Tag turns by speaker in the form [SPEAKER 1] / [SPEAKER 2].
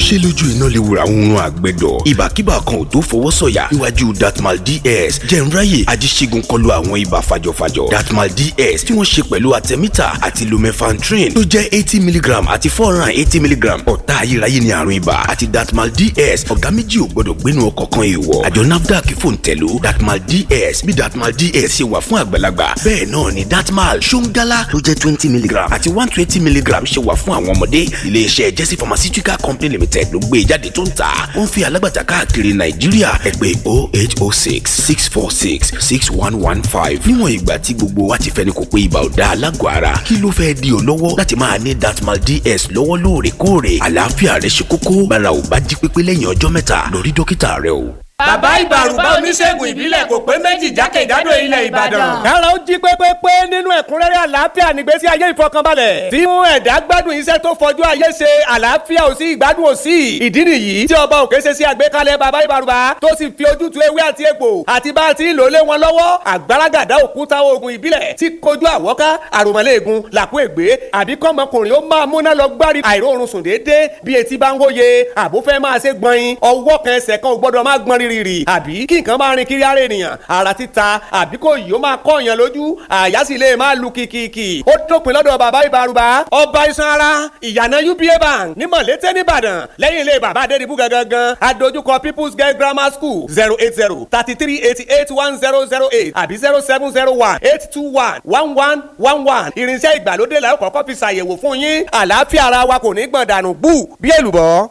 [SPEAKER 1] Ṣé lójú iná lè wura oorun àgbẹ̀dọ̀? Ìbàkíbà kan ò tó fọwọ́ sọ̀yà níwájú Datmal DS. Jẹ̀nráyè ajíṣègùn kọlu àwọn ibà fàjọfàjọ. Datmal DS tí wọ́n ṣe pẹ̀lú artemether àti lumefantrine tó jẹ́ 80 milligram àti 480 milligram. Ọ̀tá ayérayé ni àrùn ibà àti Datmal DS. Ọ̀gá méjì ò gbọ́dọ̀ gbénu ọkọ̀ kan, èèwọ̀. Àjọ NAFDAC fòǹtẹ̀ló Datmal DS. Bí Datmal DS ṣe wà fún àgbàlagbà, bẹ́ẹ̀ náà ni Datmal Ṣóńgálá tó jẹ́ 20 milligram àti 120 milligram ṣe wà fún àwọn ọmọdé. Iléeṣẹ́ Jesse Pharmaceutical Company Limited ló gbé e jáde tó ń tà. Ó ń fi alágbàtà káàkiri Nàìjíríà. Ẹ pè 08066466115. Níwọ̀n ìgbà tí gbogbo wa ti fẹ́ni kò pé ibà ò dáa lágọ̀ọ́ ara, kí ló fẹ́ di ọ́ lọ́wọ́ láti máa ní Datmal DS lọ́wọ́ lóòrèkóòrè? Àlàáfíà rẹ ṣe kókó. Bára ò bá jí pépé lẹ́yìn ọjọ́ 3, lọ rí dókítà rẹ o.
[SPEAKER 2] Bàbá Ìbàrùbá, oníṣègùn ìbílẹ̀, kò pé méjì jákèjádò ilẹ̀ Ìbàdàn.
[SPEAKER 3] Kára ó jí pépépé nínú ẹ̀kúnrẹ́rẹ́ àlàáfíà nígbésí ayé ìfọkànbalẹ̀. Tí mú ẹ̀dá gbádùn iṣẹ́ tó fọjú ayé ṣe, àlàáfíà ò sí, ìgbádùn ò sí. Ìdí nìyí tí ọba òkè ṣe sí àgbékalẹ̀ bàbá Ìbàrùbá tó sì fi ojútùú ewé àti egbò àti bá a ti ń lò lé wọn lọ́wọ́. Àgbàràgàdá òkúta oògùn ìbílẹ̀ tí kojú àwọ́ká, àròmọ̀lẹ́ẹ̀gùn, làkú ègbé, àbí kọ́mọkùnrin ó máa múná lọ gbárí àìróorun sùn déédéé bí etí bá ń hóye, àbúfẹ́ máa ṣe gbọ̀nyin, ọwọ́ kan ẹsẹ̀ kan ò gbọ́dọ̀ má gbọ́n rírì, àbí kí nǹkan máa rin kiri ara ènìyàn, ara títa, àbí kò yìí ó máa kọ́ èèyàn lójú, àyà sì lè máa lu kìkìkì. Ó dópin lọ́dọ̀ bàbá Ìbàrùbá, ọba iṣan ara, ìyànà UBA Bank ní Mọ̀lété nìbàdàn, lẹ́yìn ilé bàbá Adédìbú gangan, adójúkọ People's Girl Grammar School. 08033881008 àbí 07018211111. Irinṣẹ́ ìgbàlódé la ó kọ́kọ́ fi ṣàyẹ̀wò fún yín. Àlàáfíà ara wa kò ní gbọ̀n dànù bú bí èlùbọ́.